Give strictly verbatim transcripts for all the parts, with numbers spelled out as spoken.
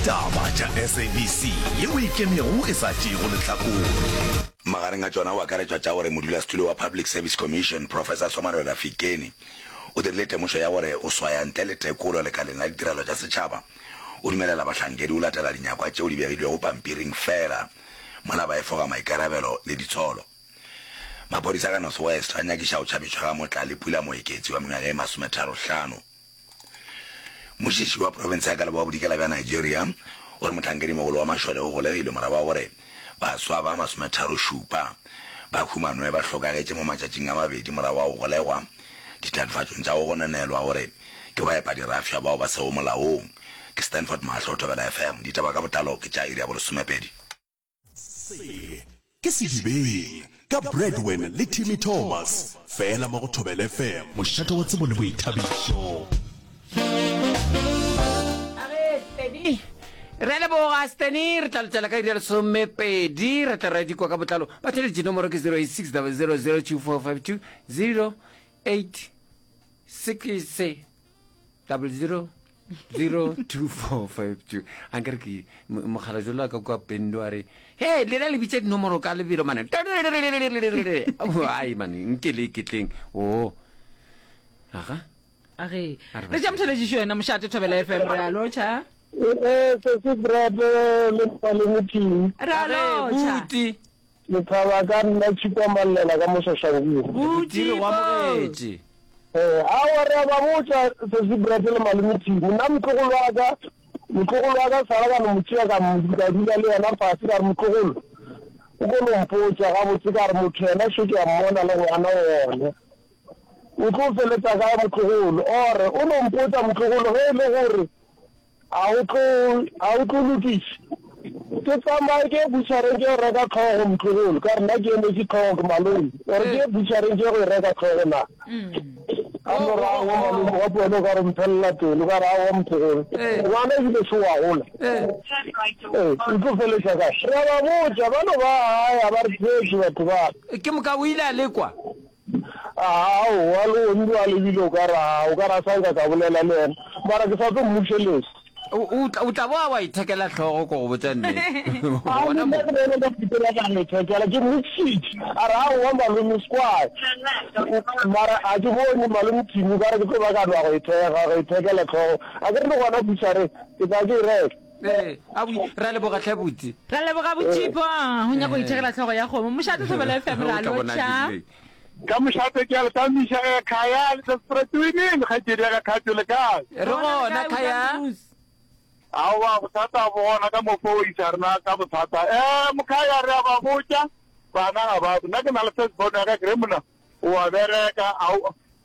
Taba tša S A B C yeo e ikemego e sa tšeego lehlakore. Magareng a tšona go akaretšwa tša gore modulasetulo wa Public Service Commission, Professor Somarola Fikeni, o dirile temošo ya gore go swaya ntle le tekolo lekaleng la ditirelo tša setšhaba o dumelela bahlankedi go latela dinyakwa tšeo di begilwego pampiring fela mola ba efoga maikarabelo le ditsholo. Maphodisa ka North West a nyakiša go tšhabišwa ga Motlalepula Moeketsi wa mengwaga e masometharo-hlano. Mošiši wa profense ya ka leboa bodikela bja Nigeria o re mohlankedimogolo wa mašole o golegilwe morago ga gore baswa ba masometharo-šupa ba humanwe ba hlokagetše mo matšatšing a mabedi morago ga go golegwa ditatofatšong tša go gononelwa gore ke baepadirafša bao ba sego molaong. Ke Stanford Mahlo, Thobela F M. Ditaba ka botlalo ke tša iri ya bolesomepedi. Se ke Sedibeng ka Bradwin le Timmy Thomas, fela mo go Thobela F M, mošate wa tsebo le boithabišo. Age, Steny. Re a leboga, Steny. Re tla letela ka iri ya lesomepedi. Re tla ra di kwa ka botlalo. Batheeletši, nomoro ke zero eight six double zero zero two four five two, zero eight six double zero zero two four five two. A nkere ke mogala jolo ka kwa Pendo a re, he lena le bitša dinomoro ka lebelo mane. Ai mane, nke le iketleng. O aga. Age. A re Re tša motheletšišo yena mošate Thobela F M, re a lotšha. Ee, sesi Brad le malome Timi. Re a lotšha. Buti. Lethaba ka nna Tšhipa Mallela ka mo Soshanguve. Buti, re go amogetše. Ee, aowa re a ba botša sesi Brad le malome Timi. Nna motlogolo wa ka, motlogolo wa ka sala ka no mo tšea ka mo ka dula le yena fase ka re, motlogolo, o ko no mpotša gabotse ka re motho yena šo ke a mmona le ngwana wone. O tlo feletša kae motlogolo? Ore o no mpotša motlogolo ge e le gore a o tlo a o tlo lokiša. Ke tsamaye ke ye butšhareng ke yo reka tlhogo motlogolo, ka re nna ke emetše tlhogo ke malome. Ore ke ye butšhareng ke ye go e reka tlhogo na? A no re aowa malome, gape wena o ka re o mphelela pelo, ka re aowa motlogolo, ngwana ebile šo wa gola. Ee, o tlo feletša kae? Re a ba botša, ba no ba gae, ga ba re theetše batho ba. Ke moka o ile a lekwa. Aowa, le gone bjale ebile o ka re a, o ka re a sa nka ka bolela le yena, mara ke sa tlo mmušeletša. O, o tla, o tla boa wa ithekela hlogo, ko go botša nnete. A Gona nna mo. ke bone ka fetela ka mo ithekela, ke mmušitše. A re, Aowa, malome, square. Mara a ke bone, malome Timi, o ka re ke tlo ba ka nwa go ithekga, go ithekela hlogo. A ke re le gona butšhareng, ke tla ke e reka. Ee, a bui, re a leboga hle buti. Re a leboga boTšhipo, go nyaka go ithekela hlogo ya kgomo. Mošate Thobela F M, re a O tla bona lotšha. dirileng. Ka mošate ke a le tamiša ge Khaya le Desperate Winnie le kgaetšedi ya ka Khatho le kae? Re gona Khaya. Aowa bothata bo gona ka mo fo isa rena ka bothata. Eh Mokhaya re a ba botša bana ga ba nna ke na le first born ya ka ke re monna o a bereka a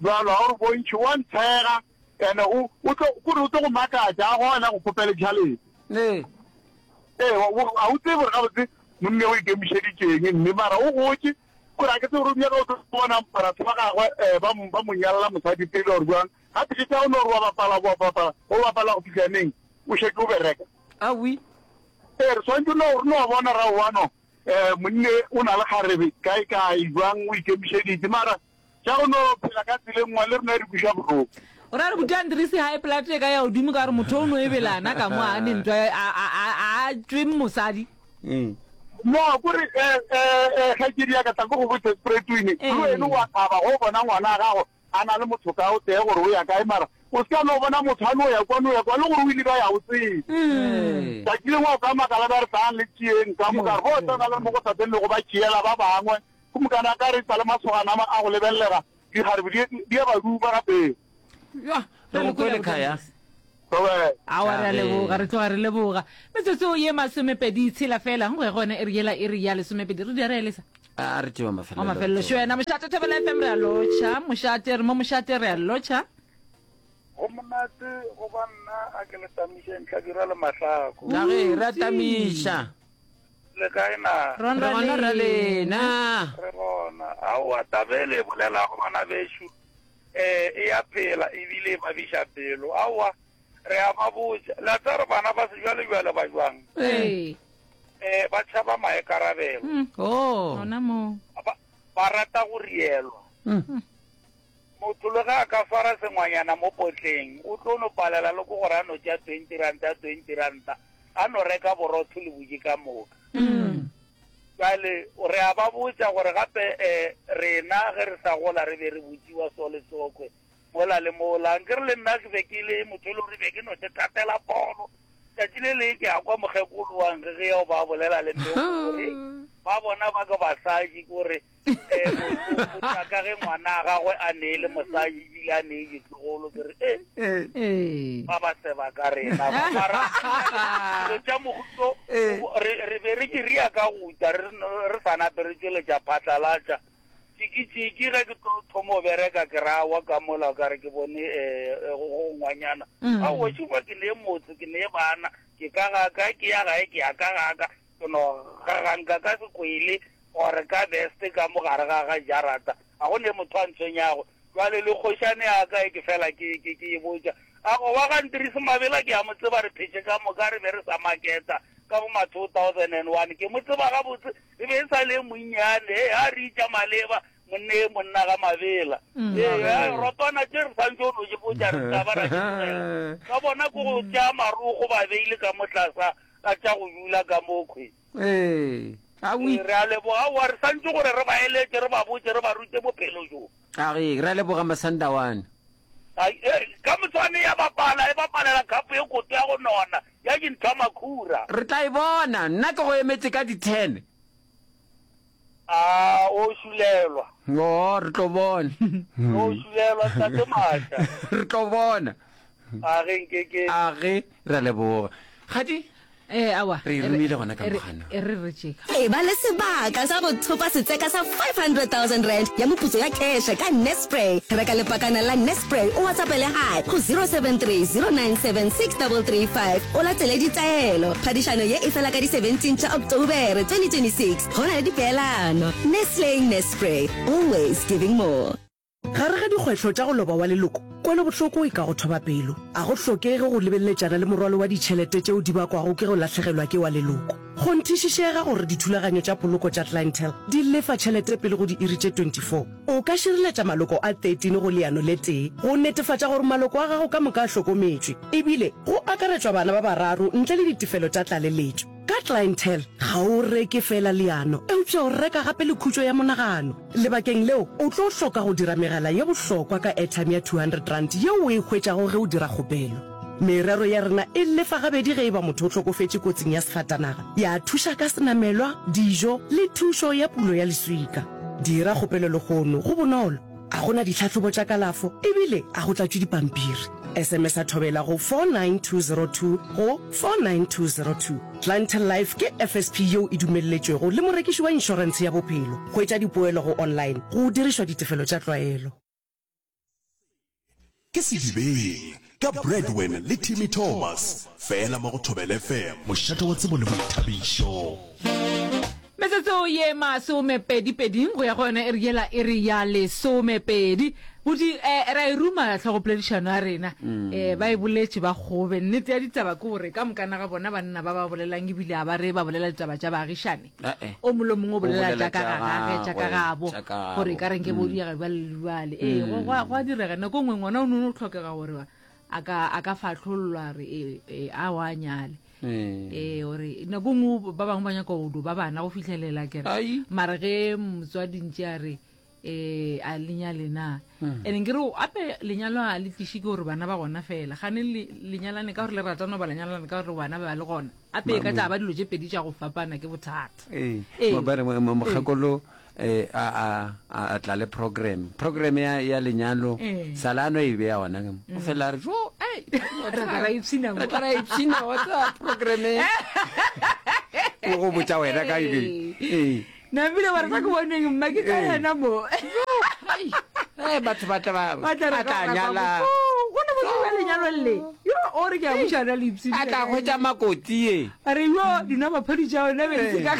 jwalo ga o re bontšhi wa ntshega ene o o tlo kore o tlo go makatša a gona go kgopele tšhalete. Ee. Ee a o tsebe gore gabotse monne o ikemišeditšeng mme mara o gotše kore a ke tsebe gore o nyaka o tlo bona batho ba gagwe um ba ba mo nyalla mosadi pele or jwang gape ke tša o no gore wa bapala wa bapala o bapala go fihla neng o šetše o bereka. Awi. Ee re swanetše no re no bona ra wano um monne o na le kgarebe kae kae jwang o ikemišeditše mara tša go no phela ka tseleng nngwe le rena e re kweša bohloko. O ra re buti Andries high blood e ka ya godimo ka gore motho o no e belana ka mo a ne ntwa a a a a tšwe mosadi. No kore um um kgaetšedi ya ka tla ko go botse Spretwini le wena wa thaba go bona ngwana a gago a na le motho ka o tee gore o ya kae mara o se ka no bona motho a no ya kwa no ya kwa le gore o ile ka ya o tsebe. Tšatši lengwe o ka makala ba re tlang le tšeeng ka moka re bo tsena le mo go sa le go ba tšeela ba bangwe go mokana ka re sa le masogana a go lebellega dikgarebe di a ba duba gape. Ya, re go kwele Khaya. Aowa re a leboga, re tloga re leboga. Metsotso ye masomepedi tshela fela, go ya gona e re yela e re ya lesomepedi. Re di re elesa. A re tšewa mafelelo. Wa mafelelo šo wena mošate Thobela F M re a lotšha, mošate re mo mošate re a lotšha. Go monate go ba nna a ke le tamišeng Hlabirwa le Mahlako. Na ge re a tamiša. Le kae na? Re gona ra lena. Re gona. Aowa taba e le e bolelago bana bešo eh e ya phela ebile e babiša pelo. Aowa re a ba botša. Le a tseba gore bana ba sejwalejwale ba jwang? Ee. Eh ba tšhaba maikarabelo. Oh. Gona mo. Ba ba rata go rielwa. Motho le ge a ka swara sengwanyana mo potleng o tlo no palela le ke gore a no tšea twenty ranta twenty ranta. A no reka borotho le buji ka moka. Bjale re a ba botša gore gape um rena ge re sa gola re be re botšiwa so le sokwe mola le mola. Nkere le nna ke be ke le motho e le gore be ke no thatela polo. Tšatši le leng ke a kwa mokgekolo wa nkge ge ba bolela le mme gore ba bona ba ke basadi kore um ka ge ngwana a gagwe a neele mosadi ebile a nee ditlogolo ke re e ba ba seba ka rena ba mara dilo tša mohuto re be re diria ka guta re sa nape re tšweletša phatlalatša tšiki-tšiki ge ke tlo thoma go bereka ke rawa ka mola ka re ke bone um go ngwanyana aowa šupa ke nee motse ke nee bana ke ka gaka ke ya gae ke ya ka gaka ke no gaganka ka sekwele gore ka best ka mo gare ga ga jarata a go ne motho a ntshwenyago jwale le kgošane ya ka e ke fela ke ke ke e botša a go wa ga Ntirisi Mabela ke a mo tseba re phetše ka moka re be re sa maketa ka bo ma two thousand and one ke mo tseba gabotse e be e sa le monnyane e a re itša maleba monne monna ga Mabela ee rotwana tše re santse o no ke botša re tla ba ra di ka bona ko go tšea marogo ba beile ka mo tlasa ka tša go dula ka mokhwe ee re a leboga wa re santse gore re ba eletše re ba botše re ba rute bophelo jo a re re a leboga Masandawana ka motswane ya bapala e bapalela khapo e koto ya go nona ya dintho makhura re tla e bona nna ke go emetse ka di-ten a o šulelwa o re tlo bona o šulelwa tate Maša re tlo bona a ge nkeke a ge re a leboga gadi Eh, awa re romile gona ka mogana e re re tšeka E ba le sebaka sa go thopa setseka sa five hundred thousand rand ya moputso ya cash ka Nespray. Reka lepakana la Nespray o WhatsAppele hi go zero seven three zero nine seven six double three five o latele ditaelo. Phadišano ye e fela ka di seventeen tša October twenty twenty six. Go na le dipeelano. Nestle Nespray, always giving more. Gare ga dikgwetlho tša go loba wa leloko, kwelobohloko e ka go thoba pelo. A go hlokege go lebeleletšana le morwalo wa ditšhelete tšeo di bakwago ke go lahlegelwa ke wa leloko. Kgonthišišega gore dithulaganyo tša poloko tša Clientele di lefa tšhelete pele go diiri tše twenty four. O ka šireletša maloko a thirteen go leano le tee go netefatša gore maloko a gago ka moka a hlokometšwe, ebile go akaretšwa bana ba bararo ntle le ditefelo tša tlaleletšo. Ka Clientele, ga o reke feela leano, eupša o reka gape le khutšo ya monagano. Lebakeng leo, o tlo hloka go dira megala ye bohlokwa ka airtime ya two hundred rand yeo o e hwetšago ge o dira kgopelo. Merero ya rena e lefa gabedi ge e ba motho o hlokofetše kotsing ya sefatanaga, ya thuša ka senamelwa, dijo le thušo ya pulo ya leswika. Dira kgopelo lehono, go bonolo, a go na ditlhahlobo tša kalafo ebile a go tlatšwe dipampiri. S M S a thobela go four nine two zero two go four nine two zero two. Clientele Life ke F S P yeo e dumelletšwego le morekiši wa inšorentshe ya bophelo. Hwetša dipoelo go online go dirišwa ditefelo tša tlwaelo. Ke Sedibeng ka Bradwin le Timmy Thomas, fela mo go Thobela F M, mošate wa tsebo le boithabišo. Metsotso ye masomepedi-pedi go ya go yona e re yela e re ya lesomepedi. Bodi eh, ra e ruma tlhogopoledišano ya rena eh, ba e boletše ba kgobe. Nnete ya ditaba ke gore ka mokana ga bona banna ba ba bolelang ebile a ba re ba bolela ditaba tša baagišane. O mongwe le mongwe o bolela tša ka ga gage, tša ka gabo, gore e ka reng ke bo diega bjale le bjale. Ee, go go a direga nako nngwe ngwana o no tlhokega gore a ka a ka fahlollwa re e, e, a wa nyale. Ee, gore nako nngwe ba bangwe ba nyaka go do ba bana go fihlelela kere. Mara ge motswadi ntše a re eh a lenyale na. Ene nkere ape lenyalo a le tliše ke gore bana ba gona fela. Gane lenyalane ka gore le ratana ba lenyalane ka gore bana ba le gona. Ape e ka tla ba dilo tše pedi tša go fapana ke bothata. Ee, ba re mokgekolo eh a a a tla le program. Program ya ya lenyalo salano e be ya ona. O fela re jo ai re tla ra ipshina mo. Re tla ra ipshina wa tsa program. O go botša wena ka eng. Ee. Nabile ba re sa ke boneng mma ke ka yena mo. Eh batho ba tla ba ba tla nyala. Go ne botse ba lenyalo le. Yo o re ke a bušana le ipshina. A tla hwetša makoti ye. A re yo dina maphadi tša ona be se ka.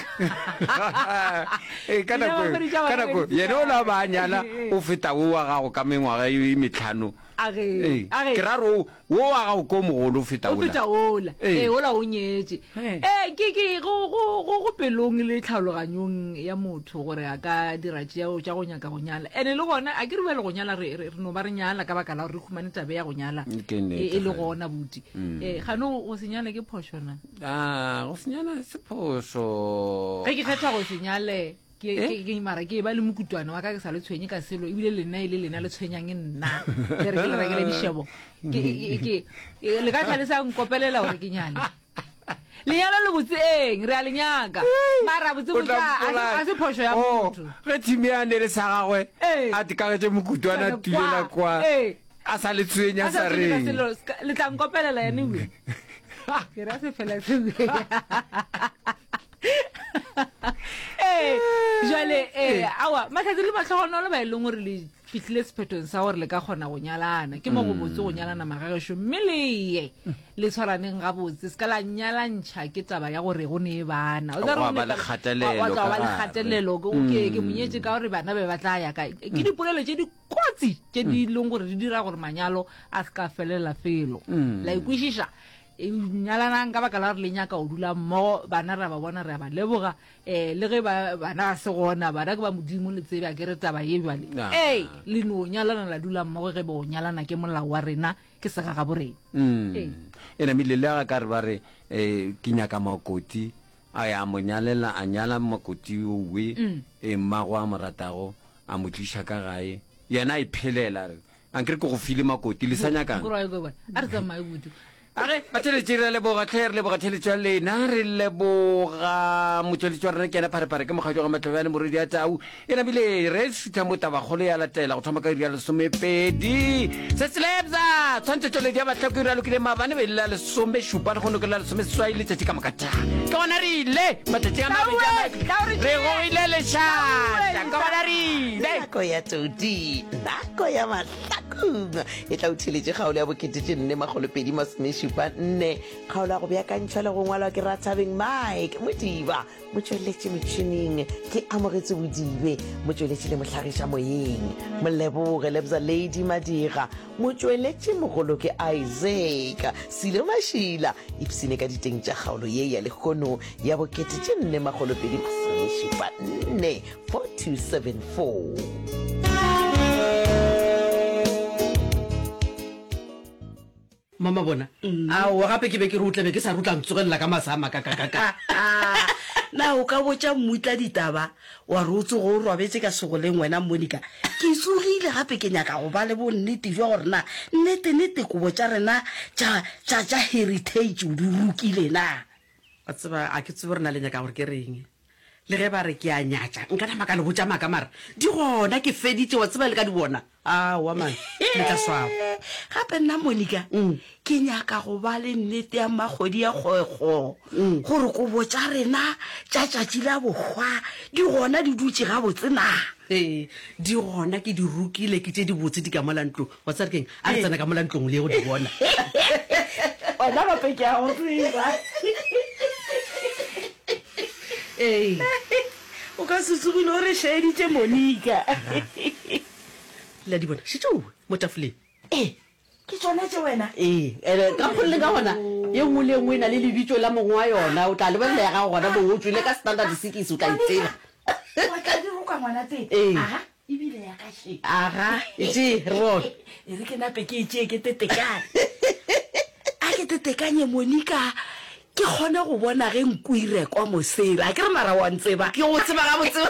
Eh ka nako ka nako yena o la ba nyala o feta o wa gago ka mengwaga e metlhano. Age, age. Ke ra re wo wa gago ko mogolo o feta O feta ola. Ee, ola o nyetše. Ee, ke ke go go go go pelong le tlhaologanyong ya motho gore a ka dira tšeo tša go nyaka go nyala. Ene le gona a ke re bjale go nyala re re no ba re nyala ka baka la gore re humane tabe ya go nyala e le gona buti. Ee, gano go se nyale ke phošo na? Ah, go se nyala se phošo. Ge ke kgetha go se nyale ke ke ke mara ke ba le mokutwana wa ka ke sa le tshwenye ka selo ebile lena e le lena le tshwenyang nna ke re ke le rekele dišebo ke ke le ka tlha le sa nkopelela gore ke nyale lenyalo le botse eng re a le nyaka mara botse botsa a se phošo ya motho ge thimi ya ne le sa gagwe a tikagetše mokutwana tulela kwa a sa le tshwenya sa reng le tla nkopelela anyway ke ra se fela se ee jale ee awa mahlatse le matlhogonolo ba e leng gore le fihlile sephethong sa gore le ka kgona go nyalana ke mo go botse go nyalana magagešo mme le ye le tshwaraneng gabotse se ka la nyalantšha ke taba ya gore go ne bana o tla ba le kgatelelo ba le kgatelelo ke ke monyetše ka gore bana be ba tla ya kae ke dipolelo tše di kotsi tše di leng gore di dira gore manyalo a se ka felela felo la ikwešiša nyalanang ka baka la gore le nyaka go dula mmogo bana re a ba bona re a ba leboga um le ge bana ba se gona bana ke ba modimo le tsebe a ke re taba ye bjale ee le no nyalana la dula mmogo ge bo nyalana ke molao wa rena ke segagabo rena e namile le ga ka re ba re um ke nyaka makoti a ya mo nyalela a nyala makoti owe e mmago a mo ratago a mo tliša ka gae yena a iphelela re ankere ke go file makoti le sa nyakang a re tsamaye kudu Age, batheletši re leboga tlhe, re leboga theletšo ya lena, re leboga motšweletši wa rena ke yena Pharephare ke mokgatšo ga Matlobjane morwedi ya Tau. E namile re šutha mo tabakgolo ya latela go thoma ka iri ya lesomepedi. Se selebza tshwantšhetšo ya bahlako e ralokile maabane be le la lesomešupa le kgono ke la lesomeseswai letšatši ka moka tša. Ke gona re ile matšatši a mabedi a re gogile lešata ke gona re ile. Nako ya todi, nako ya mahlakong e tla o theletše kgaolo ya bokete tše nne makgolo pedi masomešupa nne kgaolo ya go beakantšhwa le go ngwalwa ke Rathabeng Mike Modiba motšweletši motšhining ke Amogetse Bodibe motšweletši le mohlagiša moyeng Moleboge Lebza Lady Madira motšweletši mogolo ke Isaac Silo Mašila ipsene ka diteng tša kgaolo ye ya lehono ya bokete tše nne makgolo pedi masomešupa nne four two seven four. Mama bona aowa gape ke be ke re o tlabe ke sa re o tla ntsogelela ka masa a makakakaka. Na o ka botša mmutla ditaba wa re o tsoge o robetše ka segoleng wena Monica? Ke tsogile gape ke nyaka go ba le bonnete bja gore na nnete-nnete kobo tša rena tša tša tša heritage o di rokile na. Wa tseba a ke tsebe gore na le nyaka gore ke reng. Le ge ba re ke a nyatša nka nama ka le botša maaka mara di gona ke feditše wa tseba le ka di bona. Aowa man le tla swaba. Gape nna Monica ke nyaka go ba le nnete ya mmakgwedi ya kgwekgo gore kobo tša rena tša tšatši la bohwa di gona di dutše gabotse na. Ee di gona ke di rokile ke tše dibotse di ka mola ntlong. Wa tseba re keng a re tsena ka mola ntlong le ye go di bona. Wena gape ke a go tseba. Ee. O ka se tsogile o re šaeditše Monica. Le a di bona šetšowe mo tafoleng. Ee, ke tšona tše wena. Ee, ene ka kgoleng ka gona ye nngwe le ye nngwe e na le lebitso la mongwe wa yona. O tla lebelela ya gago gona moo o tšwele ka standard six o tla e tseba. Wa tla di roka ngwana tee. Ee. Aga, ebile ya ka še. Aga, e tšee re bone. E re ke nape ke e tšee ke tetekane. A ke tetekanye Monica ke kgone go bona ge nku e rekwa mosela. A ke re mara wa ntseba? Ke go tseba gabotse.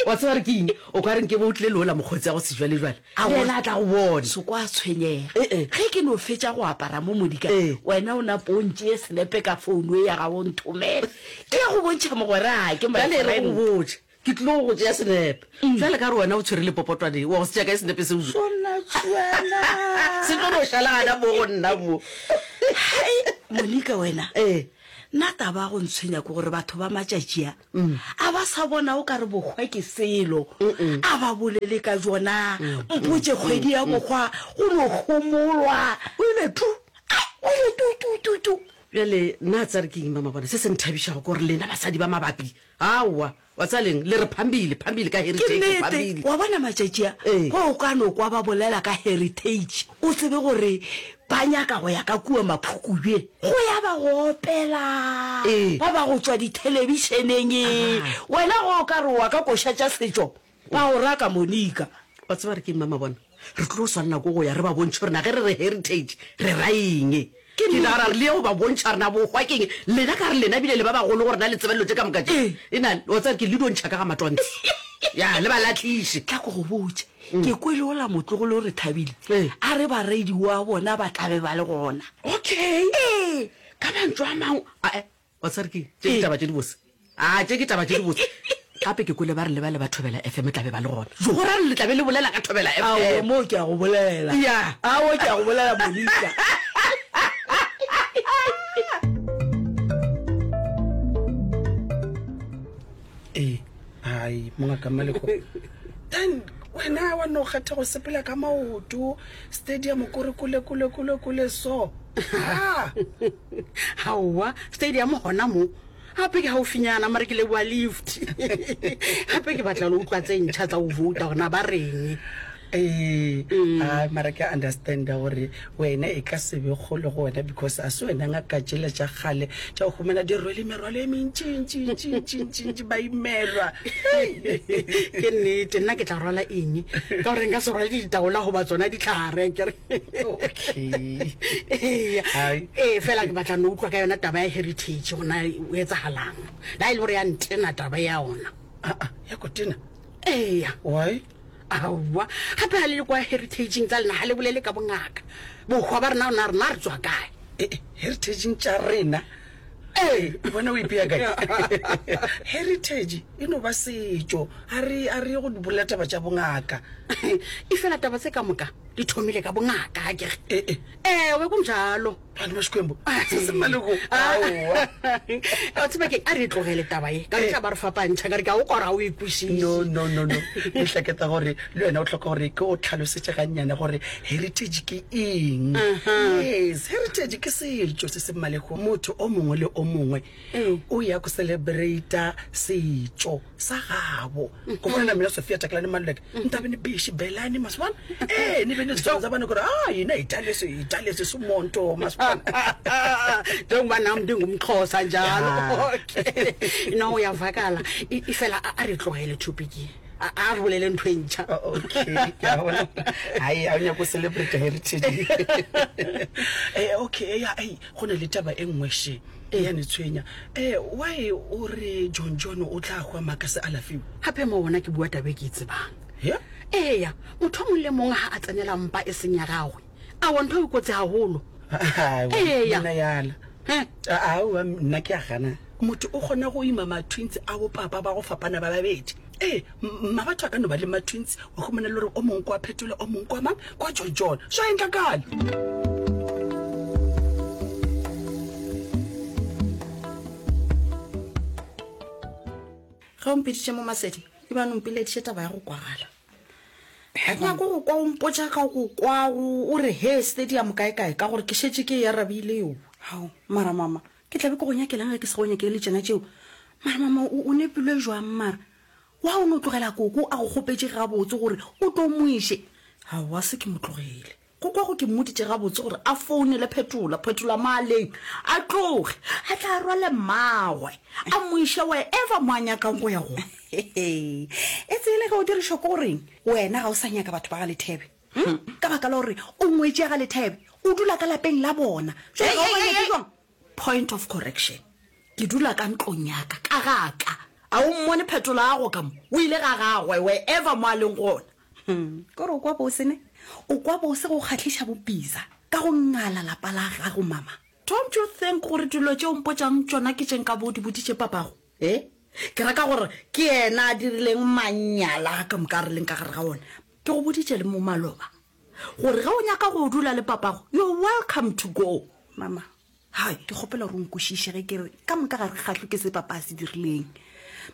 Wa tseba re ke eng? O ka re nke bo o tlile leola mokgotsi ya go sejwalejwale. Le yena a tla go bona. Se kwa tshwenyega. Ge ke no fetša go apara mo Monica, wena o napo o ntšee senepe ka founu e ya gago o nthomele. Ke ya go bontšha mogwera ke my Bjale e re friend. go botše. Ke tlilo go tšea senepe. Bjale ka re wena o tshwere lepopotwane, wa go se tšea kae senepe seo? Sona tšwela. Se tlo no šala gana mo go nna mo. Hai, Monica wena. Ee. Nna taba ya go ntshwenya ke gore batho ba matšatši a, a ba sa bona o ka re bohwa ke selo. A ba bolele ka bjona. Mpotše kgwedi ya bohwa go no homolwa. O ile tu. Ai, o ile tu tu tu tu. Bjale nna tsare ke eng mamabona se se nthabišago ke gore lena basadi ba mabapi aowa wa tseba leng le re phambile phambile ka Ke heritage nnete phambile. wa bona matšatši a Ee. ge o ka no kwa ba bolela ka heritage o tsebe gore ba nyaka go ya ka kua Maphukubje go ya ba go opela Ee. ba ba go tšwa dithelebišeneng wena ge o ka re wa ka koša tša setšo ba go raka Monica. Wa tseba re ke eng mamabona re tlo swanela ke go ya re ba bontšhe gore na ge re re heritage re ra eng. Ke Ke nnete. nagana gore le ye go ba bontšha gore na bohwa ke eng. Lena ka re lena bile le ba bagolo gore na le tseba dilo tše ka moka tše. Ee. E na, wa tseba ke le dio ntšha ka ga matwantse. Ya, le ba lahliše. Tla ko go botše. Ke kwele ola motlogolo re thabile. Ee. A re baredi wa bona ba tla be ba le gona. Okay. Ee. Ka mantšu a mangwe, a-e, wa tseba re ke eng? Tše ke taba tše dibose. A, tše ke taba tše dibose. Gape ke kwele ba re le ba le ba Thobela F M tla be ba le gona. Go ra le tla be le bolela ka Thobela F M. Aowa, moo ke a go bolela. Ya. Aowa, ke a go bolela, Monica. Ee, hai, mongaka Mmaleko. Then wena wa no kgetha go sepela ka maoto stadium kore kole kole kole kole so. Ah. Aowa, stadium gona mo. Gape ke gaufinyana mare ke leboa lift. Gape ke batla le utlwa tse ntšha tsa go vouta gore na ba reng. Ee, ai mara ke a understanda gore wena e ka se be kgolo go wena because a se wena ngaka tšela tša kgale tša go humana di rwele merwalo e mentšintšintšintšintšintši ba imelwa. Ke nnete, nna ke tla rwala eng? Ka gore nka se rwale ditaola goba tsona ditlhare akere. Okay. Eya. Hai. Ee, fela ke batla no utlwa ka yona taba ya heritage gore na o etsagalang. La e le gore ya ntena taba ya ona. Ah, ah, ya go tena? Eya. Why? Aowa, gape ga le le kwa heritageng tsa lena ga le bolele ka bongaka. Bohwa ba rena rena rena re tswa kae? Eh, eh, heritageng tša rena? Ee. Wena o ipea kae? Heritage e no ba setšo, a re, a re ye go bolela taba tša bongaka. E fela taba tse ka moka di thomile ka bongaka, akere? Eh, eh. Ewe, kunjalo. Bana ba Xikwembu, se se maloko. Aowa. Wa tseba keng, a re e tlogele taba ye, ka re tla ba re fapantšha, ka re ke a o kwa gore ga o e kwešiše. No, no, no, no. Ke hleketa gore le wena o hloka gore ke o tlhalosetše gannyane gore heritage ke eng. Yes, heritage ke setšo se se maleko. Motho o mongwe le o mongwe o ya go celebrata setšo sa gabo. Go fana na mina Sophia Takalani Maluleke, nta be ni be xibelani masibona. Eh, ni be ni dyondza vana ku ri, ah, hina hi dya leswi, hi dya leswi swimonto masibona. Njengoba nam ndingumXhosa njalo. Ya. Okay. No, uyavakala. I-, ifela a, a re tlogele topic ye. A, a re bolele ntho e ntšha. Oh, okay, ke a bona. Hai, a o nyako celebrate heritage. Eh, okay, ya, ei, go na le taba e nngwe she. E ya ne tshwenya. Eh, why o re John John o tla hwa maka se alafiwe? Gape mo wona ke bua taba e ke e tsebang. Yeah? Eya, motho o mongwe le mongwe ha a tsenela mpa e seng ya gagwe. Aowa, ntho e kotsi haholo. Aowa, Eya. nna yala. He? Aowa, nna ke a gana. Motho o kgona go ima ma-twins a bo papa ba go fapana ba babedi. Ee, m-, mma batho a ka no ba le ma-twins, wa humana le gore o mongwe kwa Phetola, o mongwe kwa mang, kwa John John. Swa endlakala. Ge o mpiditše mo Masedi, e bane o mpileditše taba ya go kwagala. Ga ke nyake go kwa o mpotša ka go kwa o re he stadium kae kae, ka gore ke šetše ke e arabile eo. Hao, mara mama, ke tla be ke go nyakelang ge ke se go nyakele tšena tšeo? Mara mama, o, o nepilwe jwang mara? Wa o no tlogela koko a go kgopetše gabotse gore o tlo mo iše? Aowa, se ke mo tlogele. Koko go ke mmoditše gabotse gore a founele Phetola, Phetola maaleng, a tloge, a tla rwale mmagwe, a mo iše wherever mo a nyakang go ya gona. E tsele ge o dirišwa ke goreng wena ga o sa nyaka batho ba ga Lethebe? Hm? Ka baka la gore o ngwetše ya ga Lethebe, o dula ka lapeng la bona. Jwale ga o ba nyake jwang? Point of correction. Ke dula ka ntlong ya ka, ka ga ka. A o mmone Phetola a go ka mo? O ile ga gagwe wherever mo a leng gona. Hmm. Kore o kwa bose ne? O kwa bose go kgahliša bopisa ka go ngala lapa la gago mama. Don't you think gore dilo tše o mpotšang tšona ke tše nka bo di boditše papago? Eh? Ke reka gore ke yena a dirileng manyala ka moka re leng ka gare ga ona. Ke go boditše le mo maloba gore ge o nyaka go dula le papago, you're welcome to go. Mama, hai, ke kgopela gore o nkwešiše ge ke re ka moka ga re kgahlwe ke se papa a se dirileng.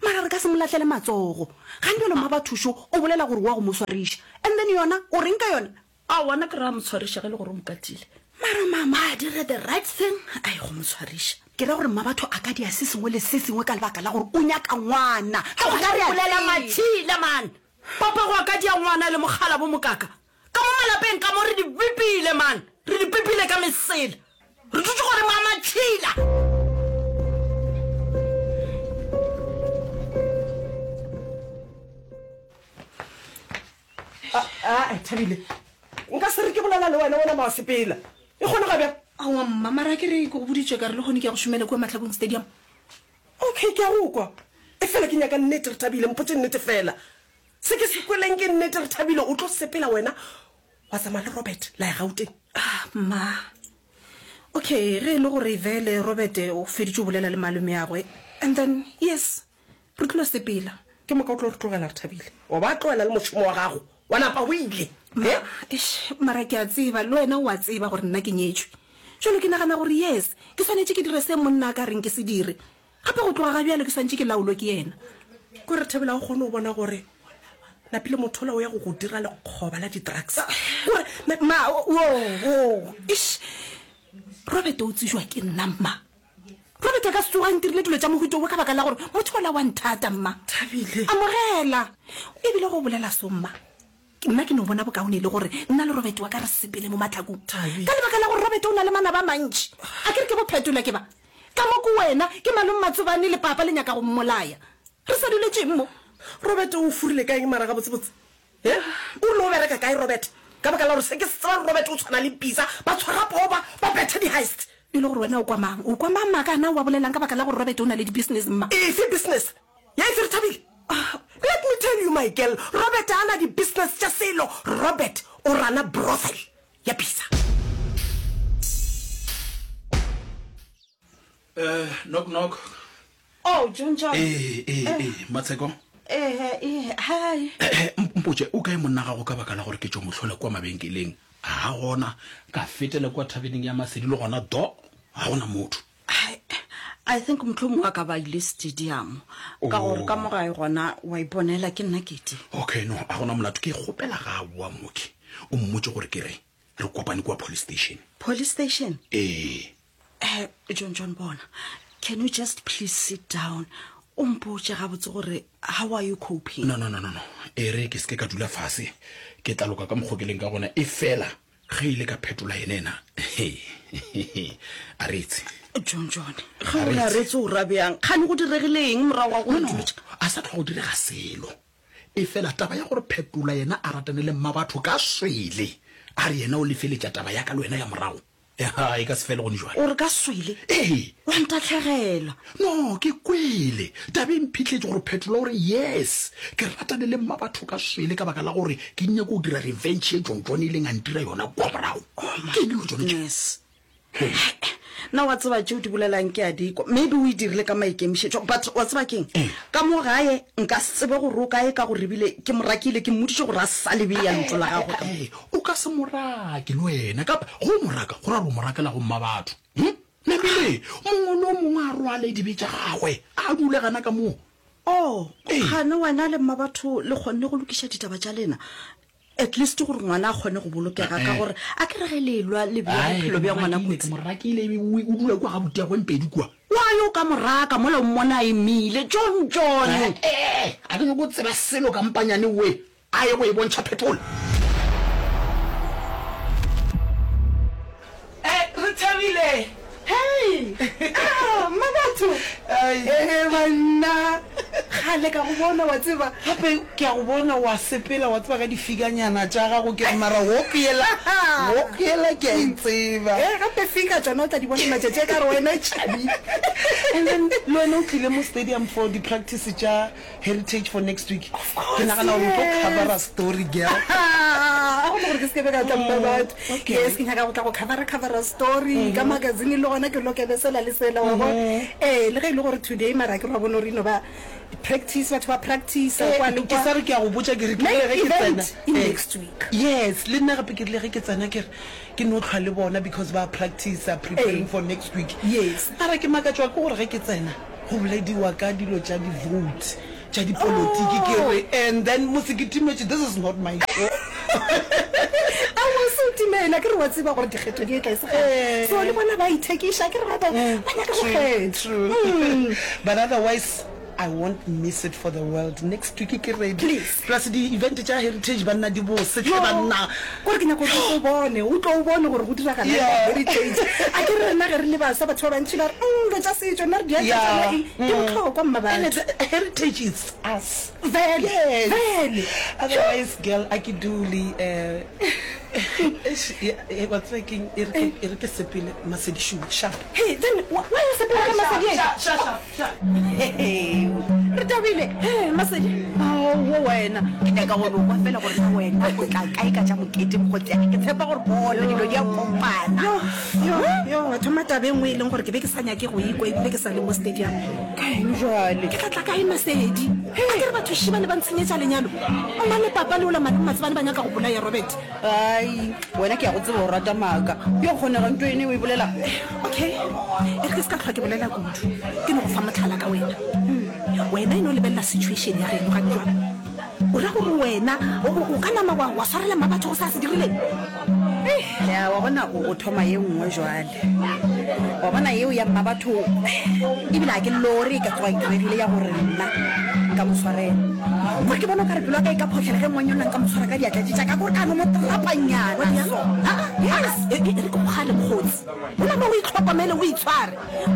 Mara re ka se mo lahlele matsogo. Gantši mma bathušo o bolela gore wa go mo swariša. And then yona, o reng ka yona? Aowa, nna ke re a mo tshwariša ge e le gore o mo katile. Mara mama, mama a dire the right thing a ye go mo tshwariša. Ke ra gore mmabatho a ka dia se sengwe le se sengwe ka lebaka la gore o nyaka ngwana. Ka gona re a Bolela tseba. matšhila man. Papago a ka dia ngwana le mokgala bo mokaka. Ka mo malapeng ka mo re di bipile man. Re di pipile ka mesela. Re dutše godimo ga matšhila. A, Thabile, nka se re ke bolela le wena, wena ma wa sepela. E kgonega bjang? Aowa mma, mara ke re ke go boditše ka re lehono ke ya go šomela kua Mahlakung Stadium. Okay, ke a go kwa. Efela ke nyaka nnete, Rethabile, mpotše nnete fela. Se ke se kweleng ke nnete, Rethabile, o tlo sepela wena wa tsamaya le Robert la ya Gauteng? Ah, mma. Okay, ge e le gore vele Robert o feditše go bolela le malomeagwe, and then, yes, re tlilo sepela. Ke moka o tlo re tlogela, Rethabile. Wa ba tlogela le mošomo wa gago, wa napa o ile. Ma, eish, mara ke a tseba, le wena o a tseba gore nna ke nyetšwe. Bjalo ke nagana gore, yes, ke swanetše ke dire se monna a ka reng ke se dire. Gape go tloga ga bjalo ke swanetše ke laolwe ke yena. Ko re Thabile, ga o kgone go bona gore napile motho ola o ya go go dira lekgoba la di-drugs? Gore na-. Ma, wo, wo, eish, Robert o tsejwa ke nna, mma. Robert a ka se tsoge a ntirile dilo tša mohuta wo ka baka la gore motho ola wa nthata, mma. Thabile. Amogela. E bile go bolela so, mma. Nna ke no bona bokaone e le gore nna le Robert wa ka re sepele mo mahlakong. Thabile. Ka lebaka la gore Robert o na le manaba a mantši. A ke re ke bophetola ke ba. Ka mo ke wena, ke malome Matsobane le papa le nyaka go mmolaya. Re sa duletšeng mo? Robert o furile ka eng mara gabotsebotse? He? O rile o bereka kae Robert? Ka baka la gore se ke se tsebang Robert o tshwana le pitsa, ba tshwara poo ba, ba betha di-heist. E le gore wena o kwa mang? O kwa mang maaka ana o a bolelang ka baka la gore Robert o na le di-business mma? Efe business? Ya efe Rethabile? Let me tell you my girl, Robert ga a na di-business tša selo, Robert o rana brothel ya pitsa. Eh, knock knock. Oh, John John. Ee, ee, ee, Matsheko. Eh, eh, hi. Eh, mpotše, o kae monna gago ka baka la gore ke tšo mo hlola kua mabenkeleng? Ga gona. Ka fetela kua thabeneng ya Masedi le gona do, ga gona motho. Hai, I think mohlomongwe a ka ba ile stadium. Ka gore ka mo gae gona wa iponela ke nna kete. Okay, no, a gona molato. Ke kgopela ga a boa mooki, o mmotše gore ke re re kopane kua police station. Police station? Ee. Eh, John John bona, can you just please sit down o mpotše gabotse gore how are you coping? No, no, no, no, no. E re ke se ke ka dula fase, ke tla loka ka mokgo ke leng ka gona. Efela ge ile ka phetola yena ena, a retse. John John, ge o re a retse o ra bjang? Kgane go diregile eng morago ga gore No, no, a sa tloga go direga selo. Efela taba ya gore Phetola yena a ratane le Mmabatho ka swele, a re yena o lefeletša taba ya ka le wena ya morago, Eha, e ka se fele gone jwale. O re ka swele? Ee. Wa ntahlegela. No, ke kwele. Taba e mphihletše gore Phetola o re, Yes, ke ratane le Mmabatho ka swele ka baka la gore ke nyako go dira revenge ye John John e ileng a ntira yona kua morago. Oh my Ke eng dilo tšona tše? goodness. Na wa tseba tšeo di bolelang ke a di kwa. Maybe o e dirile ka maikemišetšo, but wa tseba keng? Ka mo gae nka se tsebe gore o kae ka gore ebile ke mo rakile, ke mmoditše gore a sa lebe ya lentšu la gagwe ka mo. O ka se mo rake le wena, kapa ge o mo raka, go ra gore o mo rakela go mmabatho. Hm? Namile, mongwe le o mongwe a rwale dibe tša gagwe, a dule gana ka moo. Oh, kgane wena le mmabatho le kgonne go lokiša ditaba tša lena? At least gore ngwana a kgone go bolokega ka gore a ke re ge le elwa le bea bophelo bja ngwana kotsi. Ke mo rakile o dula kua ga butiagwe Mpedi kua. Why o ka mo raka mola o mmona a emile? John John! Eh, a ke nyako go tseba selo ka mpanyane we a ye go e bontšha Phetola. Eh, re thabile. Hei! Ah, Mmabatho! Ee, banna! Kgale ka go bona, wa tseba. Gape ke a go bona wa sepela, wa tseba, ka difikanyana tša gago. Ke re, mara walk yela, walk yela ke a e tseba. Ee, gape fika tšona o tla di bona matšatši a ka re wena tšhabi. And then le wena o tlile mo stadium for di-practice tša Heritage for next week. Of course, Ke nagana gore o tlo yes. covera story, girl. A gona gore ke se ke be ka tla mma batho. Okay. Yes, ke nyaka go tla go covera covera story ka magazine le gona ke lokele sela le sela wa bona. Eh, le ge e le gore today mara ke ra bona gore ino ba practice batho ba practice Eh, kwa le ke kwa. sa re ke a go botša ke re ke Main rile ge ke event tsena. in Eh, next week. Yes, le nna gape ke rile ge ke tsena ke re ke no hlwa le bona because ba practice preparing Eh. for next week. Yes. Mara ke makatšwa ke gore ge ke tsena go bolediwa ka dilo tša di-vote tša dipolotiki ke re and then mose ke timetše, this is not my show. Aowa, se o timela. campaign a ke re wa tseba gore dikgetho di etla e se kgale. So le bona ba ithekiša ke re ba ba nyaka go True, kgethwa. true. Mm. But otherwise I won't miss it for the world. Next week ke ready. Please. Plus di event tša heritage banna di bose hle Yo, banna. kore ke nyaka gore o bone, o tlo o bone gore go diragala eng ka Yeah. heritage. A ke re rena ge re le baswa batho ba bantši ba re, mm, dilo tša setšo nna re di Yeah. tšona eng. Di Mm. bohlokwa mma And batho. it's, heritage is us. Vele, Yes. vele. Otherwise, girl, a ke dule eh eish, ya- eh, wa tseba keng e re ke- e re ke sepele Masedi Shoe, sharp. Hey, then why o sepela ka Masedi e? Sharp, sharp, sharp, sharp. Re tabile. Hey, Masedi. Aowa wena, ke nyaka go no kwa fela gore na wena o tla kae ka tša mokete mokgotsi wa ka. Ke tshepa gore bona dilo di a kopana. Yo, yo, yo, wa thoma taba e nngwe e leng gore ke be ke sa nyake go ikwa ebile ke sa le mo stadium. Kaeng jwale? Ke tla tla kae Masedi? A ke re batho šiba le ba ntshenyetša lenyalo. Mma le papa le ola malome Matsebane ba nyaka go bolaya Robert. Ai, wena ke a go tseba o rata maaka. Yo kgonega nto ene o e bolela. Okay, e re ke se ka tlhwa ke bolela kudu. Ke no go fa motlhala ka wena. Hmm. Wena e no lebelela situation ya geno gane jwang. O ra gore wena o, o, o ka nama wa, wa swarela mma batho go sa se dirileng? Ya, wa bona o, o thoma ye nngwe jwale. Wa bona yeo ya mma batho, ebile ha ke lore e ka tsoga e diregile ya gore nna nka mo swarela. Gore ke bona o ka re pelo ya ka e ka phohlela ge ngwanyana nka mo tshwara ka diatla tše tša ka, kore ka no mo trapanyana so. Ah, ah, yes. E, e, e re ke go gale mokgotsi. O nama o itlhokomele, o itshware.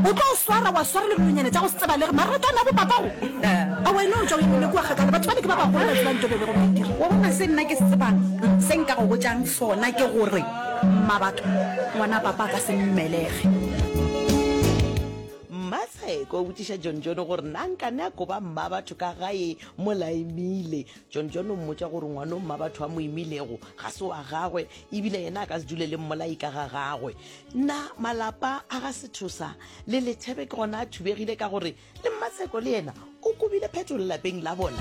O tlo o swara wa swara le dilonyana tša go se tsebalege, marato a na bo papago. A wena o tšwa o emile kua kgakala, batho bale ke ba bagolo ba tsebang ntho e be bego ba e dira. Wa bona se nna ke se tsebang, se nka go botšang sona ke gore mma batho, ngwana papa a ka se mmelege. Mmatsheko o botšiša John John gore na nkane a koba mma batho ka gae mola emile. John John o mmotša gore ngwana o mma batho a mo imilego ga se wa gagwe, ebile yena a ka se dule le mmolai ka ga gagwe. Na malapa a ga Sethosa le Lethebe ke gona a thubegile ka gore le Mmatsheko le yena o kobile phetolo lapeng la bona?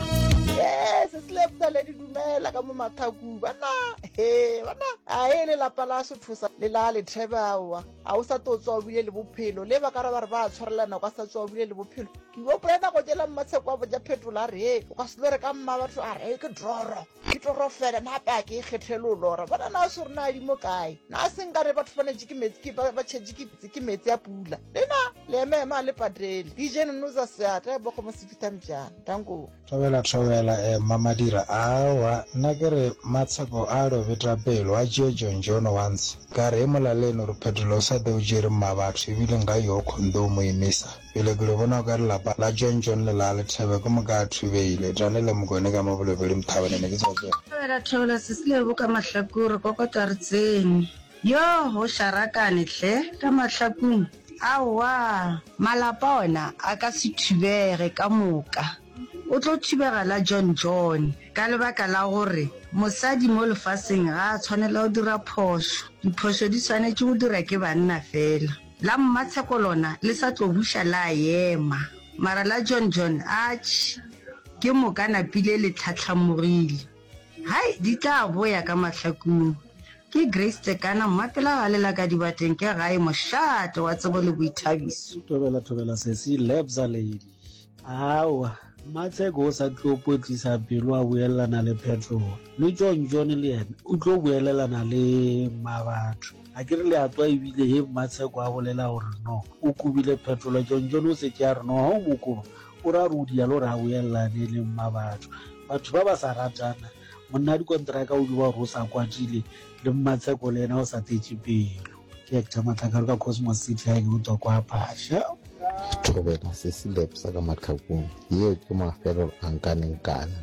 Yes, se le di dumela ka mo mathakung bana. He, bana, a e le lapa la Sethosa le la Lethebe aowa. A o sa tlo tswa o bile le bophelo. Le ba ka re ba re ba tshwarelana, o ka sa tswa o bile le bophelo. Ke gopola nako tšela Mmatsheko a botša Phetola a re, he, o ka se lo re ka mma batho a re, ke droro. Ke toro fela, na hape a ke ikgethele o lora. Bona na se rena a di mo kae. Na se nka re batho ba netše ke metsi, ke ba, ba tšhetše ke, ke metsi a pula. Le na, le ema ema le patele. D J Nonoza seatla, bo go mo se fitha mtšana. Danko. Thobela, thobela, eh, Mma Madira. Aowa, nna ke re Matsheko a lo beta pelo, a tšee John John once. Ka re e molaleng gore Phetola o sa tlo tšere mma batho, ebile nka yo kgonthe o mo emisa. Pele ke lo bona o ka re lapa la John John le la Lethebe ke moka a thubehile. Tane le Mokone ka mo Bolobedi Mthabane ne ke tswa tswela. Thobela, thobela, Sesilebo ka mahlakore, kokota re tsene. Yo, o šarakane hle, ka mahlakong. Aowa, malapa ona a ka se thubege ka moka. O tlo thubega la John John ka lebaka la gore mosadi mo lefaseng ga a tshwanela go dira phošo. Diphošo di swanetše go dira ke banna fela. La Mmatsheko lona le sa tlo buša la ema. Mara la John John atšhe, ke moka napile le tlhahlamogile. Hai, di tla boya ka mahlakong. Ke Grace Tekana, mmapela ga lela ka dibateng ke gae mošate wa tsebo le boithabiso. Thobela, thobela, sesi Lebza lady. Aowa, Mmatsheko o sa tlo potlisa pelo a boelelana le Phetola. Le John John le yena o tlo boelelana le mma batho. A ke re le a tswa ebile he Mmatsheko a bolela gore no, o kobile Phetola. John John o se ke a re no, ha o mo koba, o ra re o dialo re a boelelane le mma batho. Batho ba ba sa ratana, monna dikonteraka o di ba gore o sa kwatile, le Mmatsheko le yena o sa tletše pelo. Ke Hector Matlakaro ka Cosmos City, ha ke utlwa kwa Phasha. Thobela sesi Lebza ka mahlakong, yeo ke mafelelo a nkanenkane.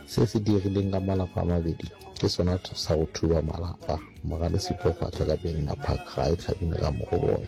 Se se diregileng ka malapa a mabedi ke sona sa go thuba malapa. Mogale Siphofatla ka Benina Park ga e tlhabine ka mo go bona.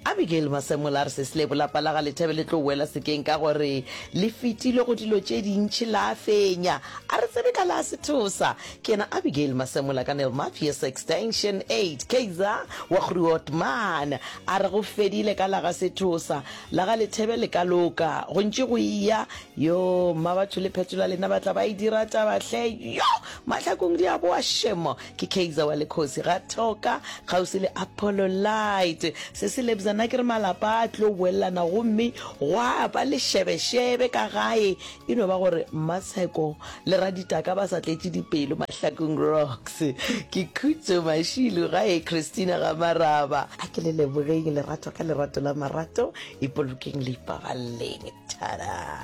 Abigail Masemola a re Sesilebo lapa la ga Lethebe le tlo boela sekeng ka gore le fetile go dilo tše dintši la fenya. A re tsebe ka la Sethosa. Ke yena Abigail Masemola ka Nellmapius Extension eight Kaizer wa Grootman. A re go fedile ka la ga Sethosa, la ga Lethebe le ka loka. Go ntše go eya, yo mma batho le Phetola lena ba tla ba e dira taba hle. Yo mahlakong di a boa shemo. Ke Kaizer wa Lekgosi ga Thoka kgauswi le Apollo Light. Se se lebza Nna ke re malapa a tlo boelelana gomme gwa ba le šebešebe ka gae. E no ba gore Mmatsheko le Raditaka ba sa tletše dipelo Mahlakung Rocks. Ke Khutso Mashilu gae Christina ga Maraba. A ke le lebogeng lerato ka lerato la marato, ipolokeng le ipaballeng. Thada!